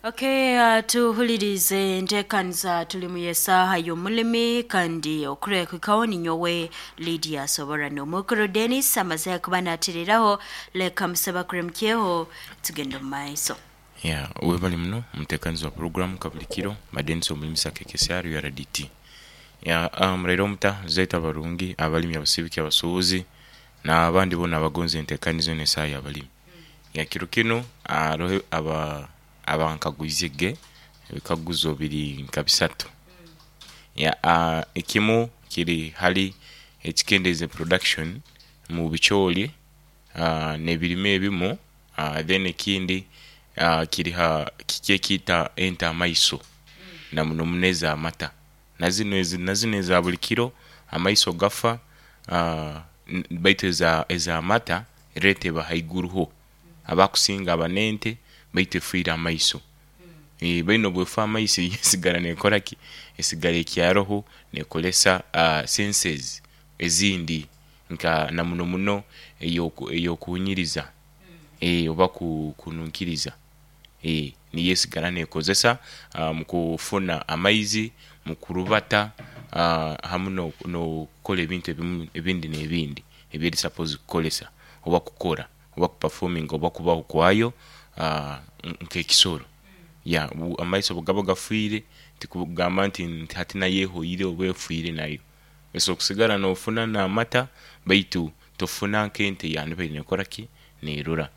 Okay, tuhulirize enteekaniza tulimu y'esaaha y'omulimi kandi okureekukaho ninyowe Lydia Soborano. Omukuru Dennis amaze kuba naatiriraho, leka musaba kuremukyeho tugende omu maiso. Yeah, webale muno omutekanizi wa program kabulikiro ba Denis Omulimisa KKCR URDT. Yeah, muraire omuta zaitu abarungi, abalimi, abasibiki, abasubuzi na abandi bona abagonza entekaniza eno esaha ya balimi. Yeah, kiro kinu haroho aba abankagwize ge ebikaguzo biri nka bisatu. Yeah, ekimu kiri hali ekikendeza production mu bicooli n'ebirime ebimu. Then ekindi kiri ha kiki ekiita ente amaiso na muno muno ez'amata. Na zino na zino eza buli kiro amaiso gafa baitu ez'amata rate eba haiguru ho. Abakusinga aba n'ente baitu efiire amaiso. Baine obwefa amaiso yo esigara nekora ki? Esigara ekyaroho nekoresa senses ezindi nka na muno muno ey'okuhunyiriza oba kununkiriza niyo esigara nekozesa mu kufuna amaizi, mu kurubata hamu n'okukora ebintu ebindi n'ebindi ebyeri sapozi kukolesa oba kukora oba kupafominga oba kubaho kwayo nk'ekisoro. Ya amaiso bwegaba gafiire tikugamba nti hati nayo ehoire oba efiire nayo. Osobola kusigara nofuna n'amata baitu tofuna nk'ente eyandibaire nekora ki? Nerora.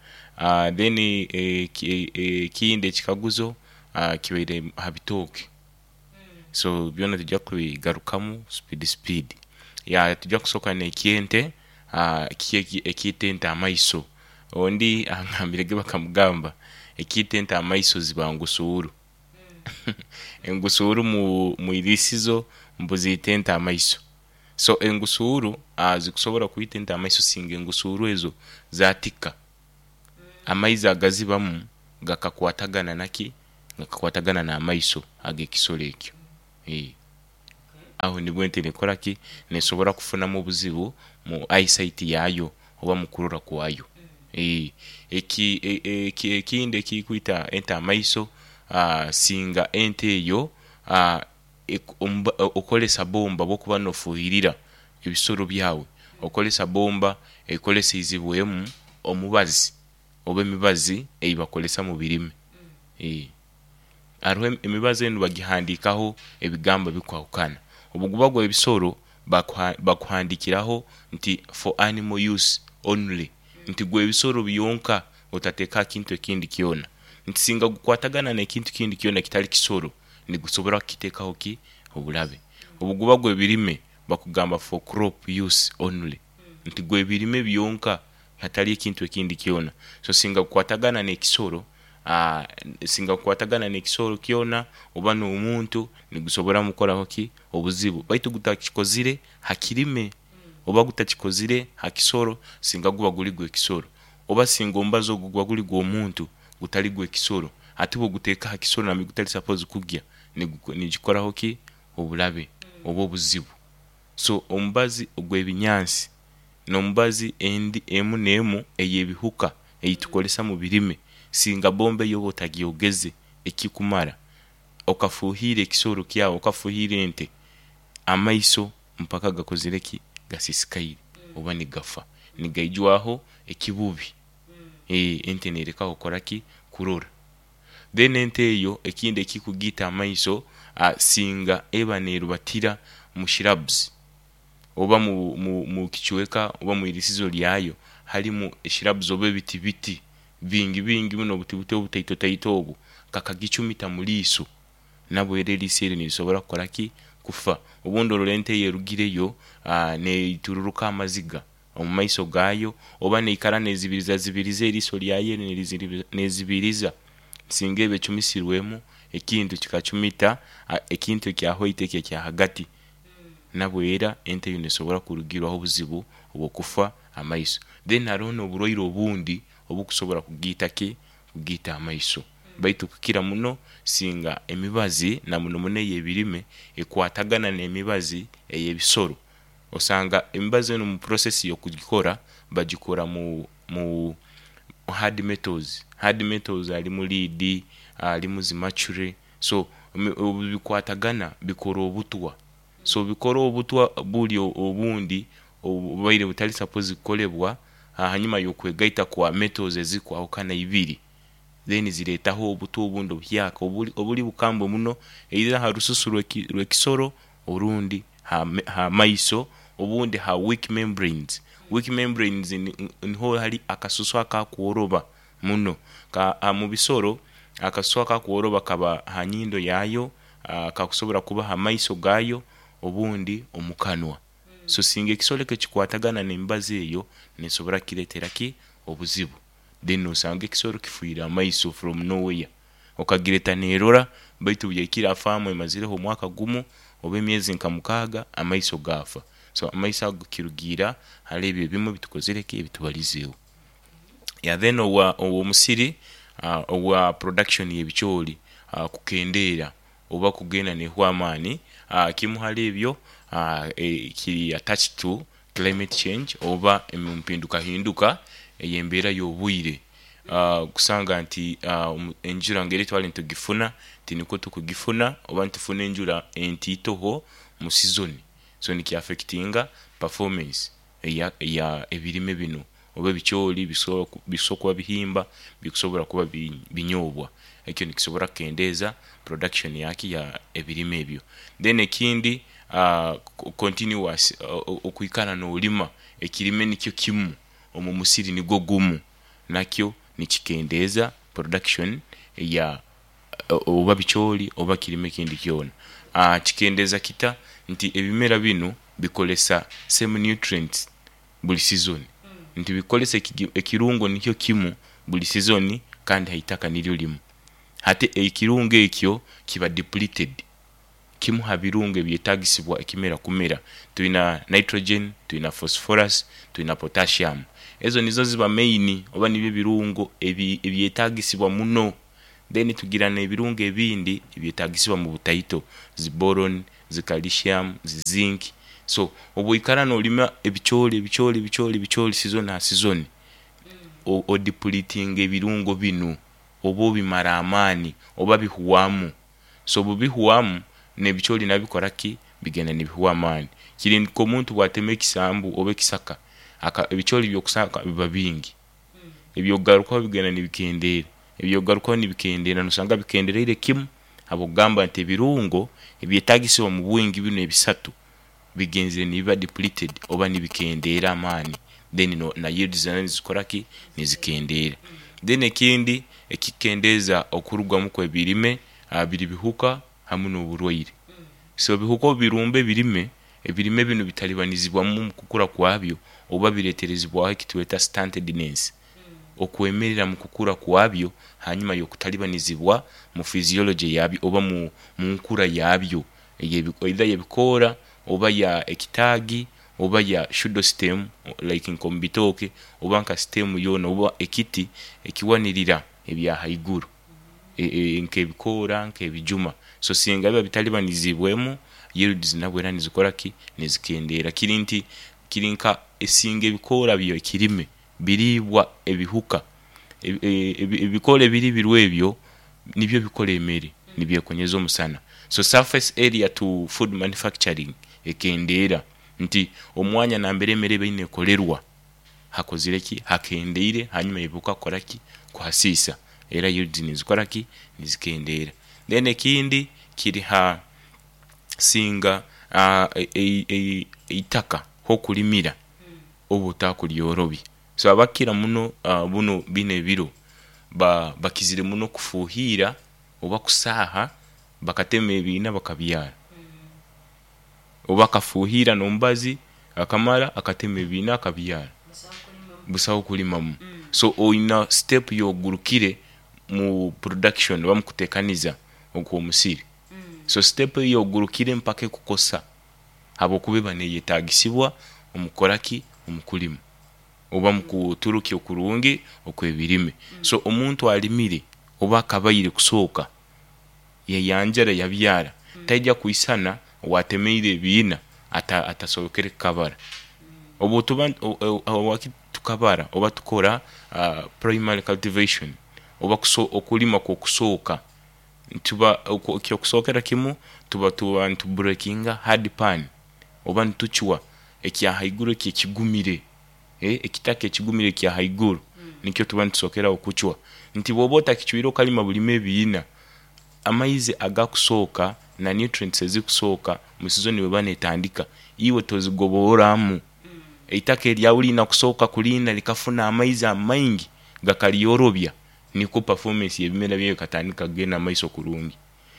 Then ekindi ekikaguzo kibaire ha bitooke. So byona tugya kubigarukamu speed speed. Ya tugya kusoka n'ekyente, kiki ekiita ente amaiso? Ondi angambire ge bakamugamba ekiita ente amaiso ziba ngusuuru. Engusuuru mu irisizo mbu ziita ente amaiso. So engusuuru zikusobola kwita ente amaiso singa engusuuru ezo zatika, amaizi agazibamu gakakwatagana naki? Gakakwatagana n'amaiso ag'ekisolo ekyo. Aho nibwo ente nekora ki? Nesobora kufunamu obuzibu mu eyesight yayo oba mu kurora kwayo. Ekindi ekikwita ente amaiso, singa ente eyo okozesa bomba bwokuba nofuhirira ebisolo byawe, okozesa bomba ekoleseizibwemu omubazi oba emibazi eyibakozesa mu birime. Haroho emibazi enu bagihandikaho ebigambo ebikwahukana. Obuguba gw'ebisoro bakuhandikiraho nti for animal use only, nti gw'ebisoro byonka otateeka aha kintu ekindi kyona. Nti singa gukwatagana n'ekintu kindi kyona ekitali kisoro, nigusobora kukiteekaho ki? Oburabe. Obuguba gw'ebirime bakugamba for crop use only, nti gw'ebirime byonka hatali ekintu ekindi kyona. So singa gukwatagana n'ekisoro, singa gukwatagana n'ekisoro kyona oba n'omuntu nigusobora mukoraho ki? Obuzibu. Baitu gutakikozire ha kirime oba gutakikozire ha kisoro singa guba guli gw'ekisoro oba singa omubazi ogwo guba guli gw'omuntu gutali gw'ekisoro ate bw'oguteeka ha kisoro nambere gutali sapozi kugya nigikoraho ki? Obulabe oba obuzibu. So omubazi ogw'ebinyansi n'omubazi endi emu n'emu ey'ebihuka eitukozesa mu birime, singa bomba eyo oba otagyogeze ekikumara, okafuhiira ekisolo kyawe, okafuhiira ente, amaiso mpaka gakozire ki? Gasisikaire oba nigafa, nigaijwaho ekibubi. Ente nerekaho kukora ki? Kurora. Then ente eyo ekindi ekikugiita amaiso, singa eba nerubatira mu shrubs oba mu kicweka oba mu irisizo lyayo halimu shrubs oba ebiti biti bingi bingi muno obuti buti obutaito taito obwo, kakagicumita mu liiso nabwo era eriiso eryo nirisobora kukola ki? Kufa. Obundi orora ente eyo erugireyo neitururuka amaziga omu maiso gaayo oba neikara nezibirizazibiriza eriiso lyayo eryo nezibiriza singa eba ecumisirwemu ekintu kikacumita ekintu ekya white ekyo ekya ghagati. Nabwo era ente eyo nesobora kurugirwaho obuzibu obw'okufa amaiso. Then haroho n'oburwaire obundi obukusobora kugiita ki? Kugiita amaiso. Baitu kukira muno singa emibazi na muno muno ey'ebirime ekwatagana n'emibazi ey'ebisoro. Osanga emibazi enu mu process y'okugikora bagikora mu. Hard metals, hard metals harimu lead, harimu zi mercury, so obu bikwatagana bikora obutwa. So bikora obutwa buri obundi obubaire butari supposed kukorebwa ahanyuma y'okwegaita kwa metals ezirikwahukana ibiri, then zireetaho obutwa obundi obuhyaka oburi bukambwe muno either aha rususu rw'ekisoro orundi ha maiso obundi ha weak membranes. Weak membranes niho hari akasusu akakworoba muno. Omu bisoro akasusu akakworoba kaba ha nyindo yaayo, kakusobola kuba ha maiso gaayo obundi omu kanwa. So singa ekisoro ekyo kikwatagana n'emibazi eyo, neesobora kukireetera ki? Obuzibu. Then nosanga ekisoro kifiire amaiso from nowhere. Okagireta neerora baitu obu yahikire ha faamu emazireho omwaka gumu oba emyezi nka 6, amaiso gaafa. So amaiso ago kirugiirra hali ebyo ebimwe ebitukozire ki? Ebitubalizeeho. Then ow'omusiri owa production y'ebicoori kukendeera oba kugenda neehwa amaani, kimu hali ebyo kiri attached to climate change oba empindukahinduka ey'embeera y'obwire. Kusanga nti enjura ngeri twali nitugifuna tinikwo tukugifuna oba nitufuna enjura entiitoho mu sizoni, so nikiaffectinga performance eya ebirime binu oba ebicoori bikusobola kuba bihimba, bikusobola kuba binyobwa. Ekyo nikisobola kukendeeza production yaki? Ya ebirime ebyo. Then ekindi continuous okwikara noolima ekirime nikyo kimu omu musiri nigwo gumu nakyo nikikendeeza production ya oba bicoori oba kirime ekindi kyona. Kikendeeza kita? Nti ebimera binu bikozesa same nutrients buli sizoni, nti bikozesa ekirungo nikyo kimu buli sizoni kandi haitaka niryo limu. Hati ekirungo ekyo kiba depleted, kimu ha birungo ebyetagisibwa ekimera kumera. Twina nitrogen, twina phosphorus, twina potassium. Ezo nizo ziba main oba nibyo ebirungo ebyetagisibwa muno. Then tugira n'ebirungo ebindi ebyetagisibwa mu butaito, zi boron, zi calcium, zi zinc. So obwoikara noolima ebicoori, ebicoori, ebicoori, ebicoori sizoni ha sizoni, odepletinga ebirungo binu oba obimara amaani oba bihwamu. So obubihwamu, n'ebicoori nabyo bikora ki? Bigenda nibihwa amaani. Kiri nk'omuntu bwatema ekisambu oba ekisaka, ebicoori by'okusanga biba bingi, ebyokugarukaho bigenda nibikendeera, ebyokugarukaho nibikendeera, nosanga bikendereire kimu habw'okugamba nti ebirungo ebyetagisibwa omu bwingi binu ebisatu bigenzere nibiba depleted oba nibikendeera amaani then na yields nazo nizikora ki? Nizikendeera. Then ekindi ekikukendeeza okurugamu kw'ebirime biri bihuka hamu n'oburwaire. So ebihuka obu birumba ebirime, ebirime binu bitalibanizibwamu omu kukura kwabyo oba bireeterezibwaho ekitweta stuntedness, okwemerera mu kukura kwabyo hanyuma y'okutalibanizibwa mu physiology yabyo oba mu nkura yabyo either y'ebikoora oba ya ekitaagi oba ya pseudo stem like nk'omu bitooke oba nka stem yoona oba ekiti ekiwanirira ebya haiguru nk'ebikoora nk'ebijuma. So singa biba bitalibanizibwemu, yields nabwo era nizikora ki? Nizikendeera. Kiri nti kiri nka singa ebikoora by'ekirime biriibwa ebihuka, ebikoora ebiriibirwe ebyo nibyo bikora emere nibyekonyeza omusana. So surface area to food manufacturing ekendeera nti omwanya nambere emere eba eine ekolerwa hakozire ki? Hakendeire hanyuma y'ebihuka kukora ki? Kuhasiisa. Era yields nizikora ki? Nizikendeera. Then ekindi kiri ha singa eitaka h'okulimira oba otakuryorobya. So abakira muno bunu binu ebiro bakizire muno kufuhiira oba kusaaha bakatema ebiina bakabyara. Oba akafuhiira n'omubazi akamara akatema ebiina akabyara. Busaho kulimamu. So oina step y'ogurukire mu production oba mu kutekaniza okw'omusiri. So step eyo y'ogurukire mpaka ekukosa habw'okuba eba neyetagisibwa omu kukora ki? Omu kulima oba mu kuturukya okurungi okw'ebirime. So omuntu alimire oba akabaire kusooka yayanjara yabyara taija kwisana owatemeire ebiina atasobokere kukabara. Obu tuba. Tukabara oba tukora primary cultivation oba okulima kw'okusooka, tuba ekyokusookera kimu tuba nitubreakinga hard pan oba nitucwa ekya haiguru eki ekigumire, ekitaka ekigumire ekya haiguru nikyo tuba nitusookeraho kucwa. Nti bwoba otakicwire okalima bulime ebiina, amaizi agakusooka na nutrients ezikusooka mu sizoni bweba netandika, iwe tozigoboramu. Eitaka eryawe lirina kusooka kulinda likafuna amaizi amaingi gakaryorobya, nikwo performance yebimera byawe ekatandika kugenda mumaiso kurungi.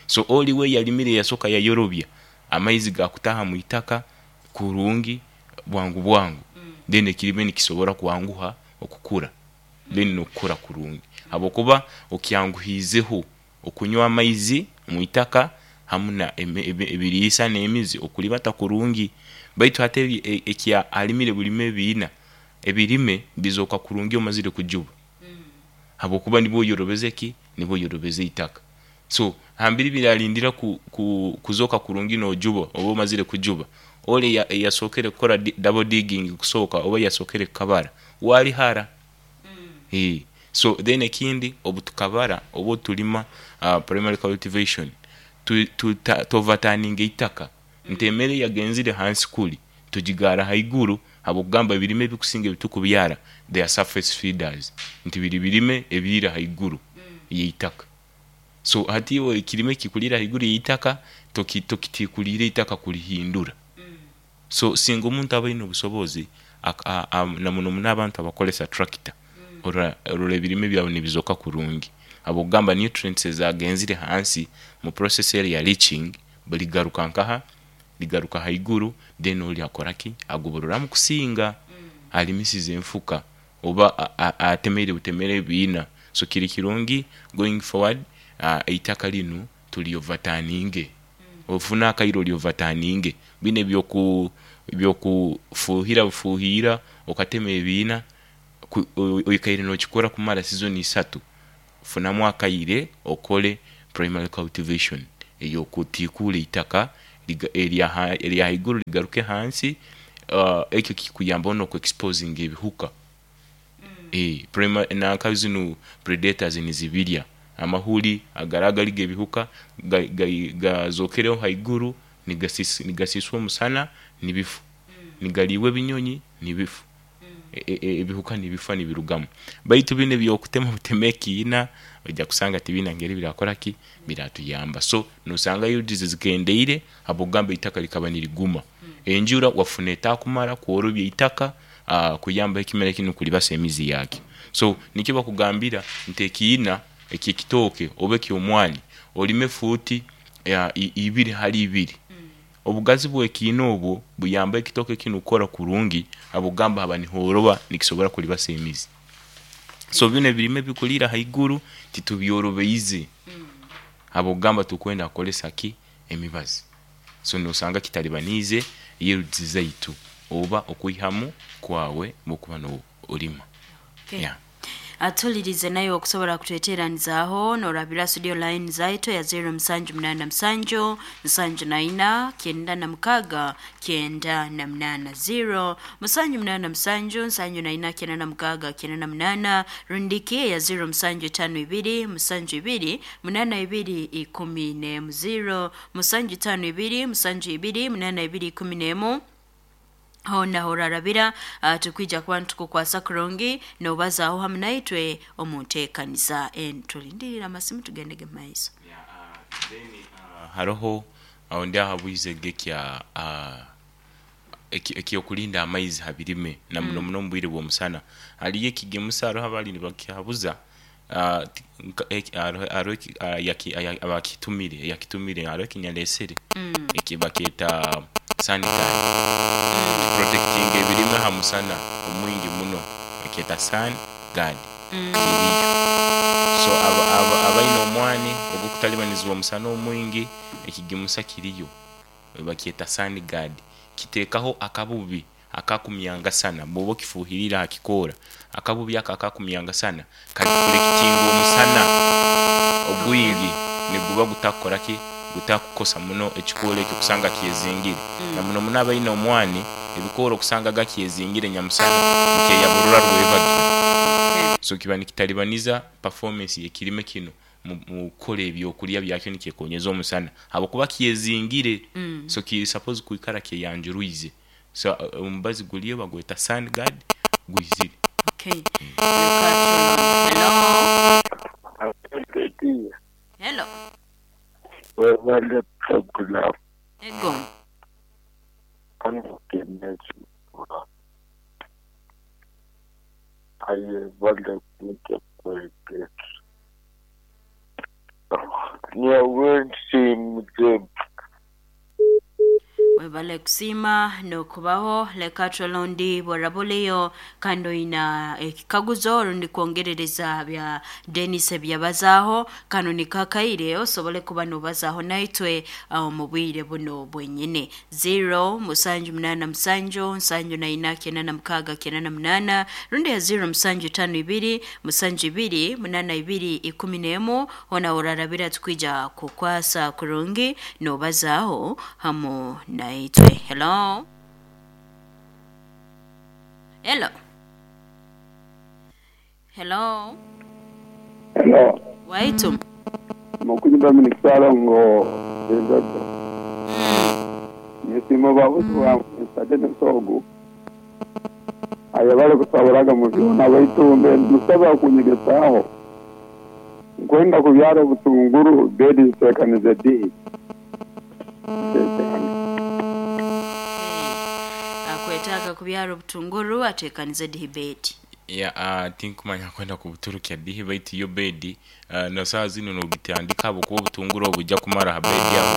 So oli we eyarimire yasooka yayorobya, amaizi gakutaaha mwitaka kurungi bwangu bwangu, then ekirime nikisobola kwanguha okukura then nokukura kurungi habwokuba okyanguhiizeho okunywa amaizi mwitaka hamu na ebiriisa nemizi okuribata kurungi. Baitu hati ekya arimire bulime ebiina, ebirime bizooka kurungi omazire kujuba habwokuba nibwo oyorobeze ki? Nibwo oyorobeze eitaka. So hambiri birarindira kuzooka kurungi nojuba oba omazire kujuba, ole eyasookere kukora double digging kusooka oba eyasookere kukabara we ali hara. So then ekindi obutukabara oba otulima primary cultivation, tuoverturninga eitaka nti emere eyagenzire hansi kuri tugigaara haiguru habwokugamba ebirime ebikusinga ebitukubyara they are surface feeders, nti biri birime ebiriira haiguru yeitaka. So hati iwe ekirime ekikuriira haiguru yeitaka tokitiikuriire eitaka kurihindura. So singa omuntu aba aine obusobozi namuno muno abantu abakozesa tractor, orora ebirime byawe nibizooka kurungi habwokugamba nutrients ezagenzire hansi mu process eri eya leaching ligaruka nkaha? Ligaruka haiguru then ori akoraki? Agobororamu kusinga arimisize enfuka oba atemere butemere ebiina. So kiri kirungi going forward eitaka linu tulyoverturninge, ofune akaire olyoverturninge binu ebyokufuhira bufuhira okatema ebiina, oikaire nokikora kumara sizoni isatu, funamu akaire okole primary cultivation eyokutiikuura eitaka erya haiguru ligaruke hansi, ekyo kikuyambaho noku exposinga ebihuka. Nanka zinu predators nizibirya, amahuri agari agari gebihuka gazokereho haiguru nigasiswa omusana nibifa, nigariibwa ebinyonyi nibifa, ebihuka nibifa nibirugamu. Baitu binu ebyokutema buteme ekiina oija kusanga tibiina ngeri birakoraki, biratuyamba. So nosanga yields zikendeire habwokugamba eitaka likaba niriguma. Enjura wafuna etakumara kworobya eitaka kuyambaho ekimera kinu kuribasa emizi yakyo. So nikyo bakugambira nti ekiina ekyekitooke oba ekyomwani orime fuuti ibiri hali ibiri. Obugazi bwekiina obwo buyamba ekitooke kinu kukora kurungi habwokugamba haba nihoroba nikisobola kuribasa emizi. So binu ebirime ebikuriira haiguru titubyorobeize habwokugamba tukwenda kukozesa ki? Emibazi. So nosanga kitaribaniize yields zaitu oba okwihamu kwawe bwokuba norima. Yeah. Atulirize naye okusobola kutweteranizaaho norabira studio line zaitu ya 0787 74 96 98 0 787 74 96 98 rundiki ya 0752 72 82 10 0 752 72 82 11 hoona horarabira tukwija kuba nitukukwasa kurungi nobazaaho hamu naitwe omu nteekaniza enu. Tulindirire amasimu tugendege mumaiso. Then haroho aho ndi ahabwize ekya ekyokulinda amaizi ha birime na muno muno omubwire bw'omusana. Hariyo ekigimusa haroho abali nibakihabuza, haroho abakitumire eyakitumire haroho ekinyalesere eki bakyeta sun guard, kiprotectinga ebirime ha musana omwingi muno, bakyeta sun guard kiriyo. So abaine omwani ogukutalibanizibwa omusana omwingi, ekigimusa kiriyo bakyeta sun guard, kiteekaho akabubi akakumyangasana bwoba okifuhiriire aha kikoora, akabubi ako akakumyangasana kareflectinga omusana ogwingi niguba gutakukoraki, gutakukosa muno ekikoora ekyo kusanga kyezingire. Na muno muno abaine omwani. Ebikoora okusanga gakyezingire nyamusana nikyeyaburura rwebagyo. Okay. So kiba nikitalibaniza performance y'ekirime kinu mu kukora ebyokulya byakyo nikyekonyeza omusana habwokuba kyezingire. So kiri suppose kwikara kyeyanjurwize. So omubazi guliyo bagweta sun guard gwizire. Okay. Leka turole. Hello. Hello. Webale program. Ego. Webale kusiima n'okubaho. Leka turole bw'orabuliyo kandi oyina ekikaguzo rundi kwongerereza bya Denis ebyabazaaho. Kano nikakaire osobole kuba n'obazaaho naitwe omu bwire buno bwenyine. 0 7 8 7 7 4 96 98 rundi ya 0 7 5 2 7 2 8 2 11. Hona orarabira tukwija kukwasa kurungi n'obazaaho hamu naitwe. Hello. Hello. Hello. Hello. Waitu. Mukunyi Dominic Salongo Edodo. Nisimo babuzi bwa Mr. Dennis Ogu. Ayabale kusaburaga mu byona baitumbe musaba kunyegesaho. Nkwenda kubyara obutunguru bedi zitekanize di. Akwetaaga kubyara obutunguru atekanize dihibeti. Ya, tinkumanya kwenda kubuturukya dihi, baitu yo bedi na saa zino nogitandika habwokuba obutunguru obujja kumara ha bedi aho.